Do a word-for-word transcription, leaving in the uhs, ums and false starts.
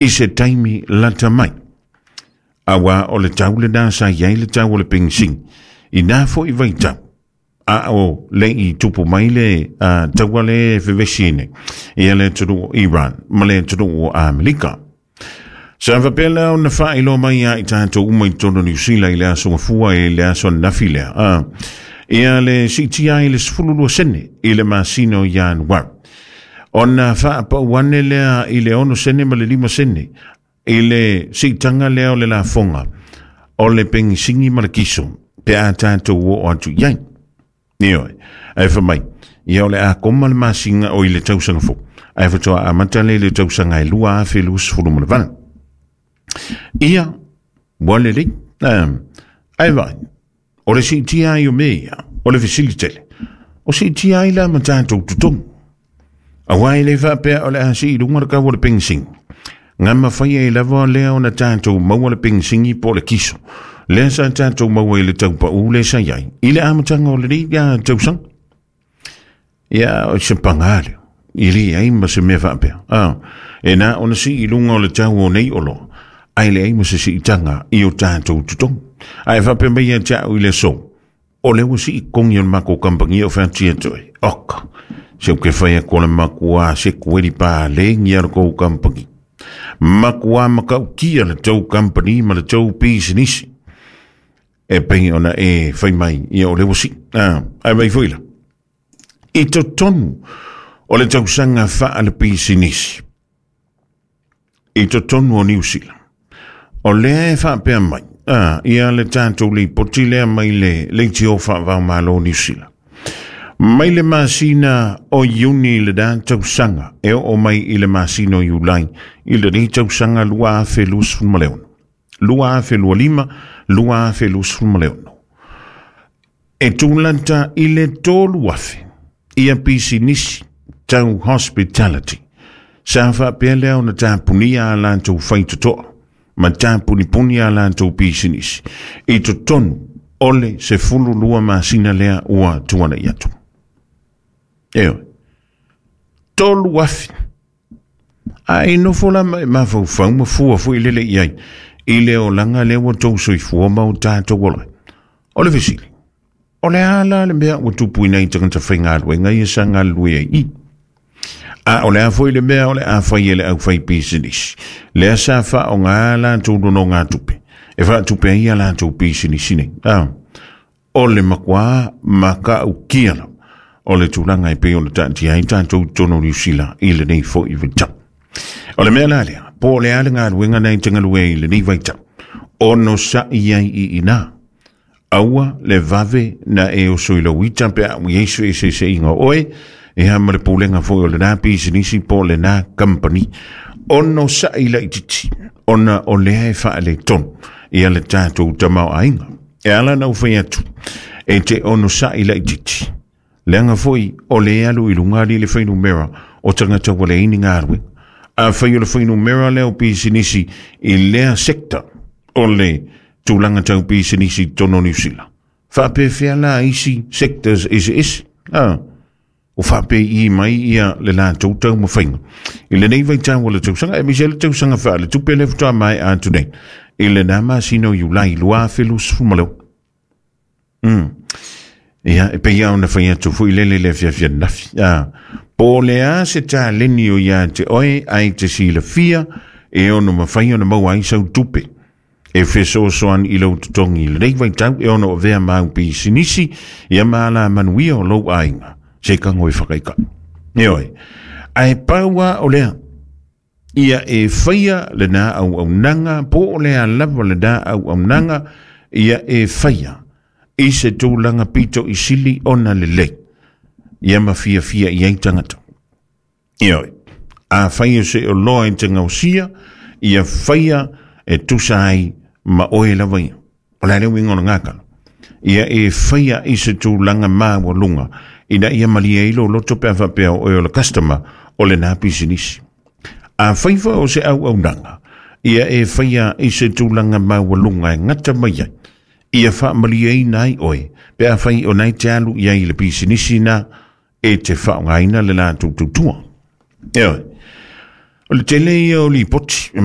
I se taimi lata mai. Auā o le tau lenā sa i ai le tau o le penisini i nā fo'i vaitau a o le'i tupu mai le uh, taua le fevesi nei ia le atunuu o Iran ma le atunuu o Amerika. Sa faapea lea ona faailoa mai ia i tatou uma i totonu o Niu Sila i le aso Gafua i le aso ananafi lea. Ah, ia le siitia ai le sefulu lua sene i le masina o Ianuari. Ona faapau ane lea i le ono sene ma le lima sene i le siitaga lea o le lafoga o le pegisigi ma le kiso pe a tatou oo atu i ai. Ioe, ae fai mai, ia o le a koma le masina o i le tausaga fou, ae faatoa amata lea i le tausaga e lua afe luasefulu ma le valu. Ia, ua lelei, ae vaai, o le siitia ai o mea ia, o le fesili tele, o siitia ai la ma tatou totogi. Auā e le faapea o le a sii i luga le kau o le pegisigi. Ga mafai ai lava lea ona tatou maua le pegisigi po o le kiso lea sa tatou maua i le taupaū lea sa i ai i le amataga o lenei tausaga. Ia, o se pagā lea, e leai ma se mea faapea. Ah, e na ona sii i luga o le tau o nei oloa, ae leai ma se siitaga i o tatou totogi. Ae faapea mai ia te au i le aso, o lea ua sii totogi o le makou kamupani o featia toe. Oka, se ou ke fai atu o le makuā sekueli palēgia o le tou kamupani. Makuā matautia le tou kamupani ma le tou pisinisi. E pei ona e fai mai, ia o lea ua sii. Ah, ae vaai foi la. I totonu o le tausaga faalepisinisi i totonu o Niu Sila, o lea e faapea mai, ah, ia le tatou lipoti lea mai le leitio faavaomalo o Niu Sila. Mai le masina o Iuni i lenā tausaga e oo mai i le masina o Iulai i lenei tausaga lua afe luasefulu ma le ono, lua afe lua lima, lua afe luasefulu ma le ono, e tulata i le tolu afe ia pisinisi tau hospitality sa faapea lea ona tapunia a latou faitotoa ma tapunipuni a latou pisinisi i totonu o le sefulu lua masina lea ua tuana'i atu. Ioe, tolu afe. Ae nofo la ma e mafaufau ma fua foi lele i ai i le olaga lea ua tou soifua ma o tatou ola ai. O le fesili, o le a la le mea ua tupu i nai tagata faigaluega ia sa galulue ai i? A o le a foi le mea o le a fai e le aufaipisinisi lea sa faaaoga a latou nonogatupe e faatupe ai a latou pisinisi nei? A o le makuā matautia lava o le tulaga e pei ona taatia ai tatou i totonu o Niu Sila i lenei foi vaitau. O le mea la lea, po o le a le galuega na e te galue ai i lenei vaitau, onosa'i ai i inā. Aua le vave na e oso i lou ita pe a ua i ai se feeseeseaiga o oe, ia ma le pulega foi o lenā pisinisi po o lenā kamupani. Onosa'i laitiiti, ona o lea e faaletonu ia le tatou tamaoaiga. E ala ona ou fai atu, e te onosa'i laitiiti, leaga foi o lea e alu i luga alii le fuainumera o tagata ua leai ni galuega. Afai o le fuainumera lea o pisinisi i lea sector o le tulaga tau pisinisi i totonu o Niu Sila, faapefea la isi sectors eseese? Ah, o faapei mai ia le latou taumafaiga i lenei vaitau o le tausaga, aemaise ai le tausaga faaletupe lea faatoa maea atu nei i lenā masina o Iulai lua afe luasefulu ma le ono. Mm. Ia, e pei lava ona fai atu foi lele i le afiafi ananafi. Ah, po o le a se taleni o ia te oe ae te silafia e ono mafai ona maua ai sau tupe e fesoasoani i lou totogi i lenei vaitau e ono avea ma au pisinisi ia ma alamanuia o lou aiga se kago e whakaikai. Ioe, ae pau lava o lea, ia e faia lenā auaunaga po o le a lava lenā auaunaga ia e faia i se tulaga pito i sili ona lelei ia ma fiafia i ai tagata. Ioe, afai o se oloa e te gaosia, ia faia e tusa ai ma oe lava ia. O le a le uiga o le gakalo? Ia e faia i se tulaga maualuga ina ia malie ai lou loto pe a faapea o oe o le customer o lenā pisinisi. Afai foi o se auaunaga, ia e faia i se tulaga maualuga e gata mai ai, ia faamalieina ai oe pe afai o na e te alu i ai i le pisinisi na e te faaaogaina le latou tautua. Ioe. O le tele ia o lipoti e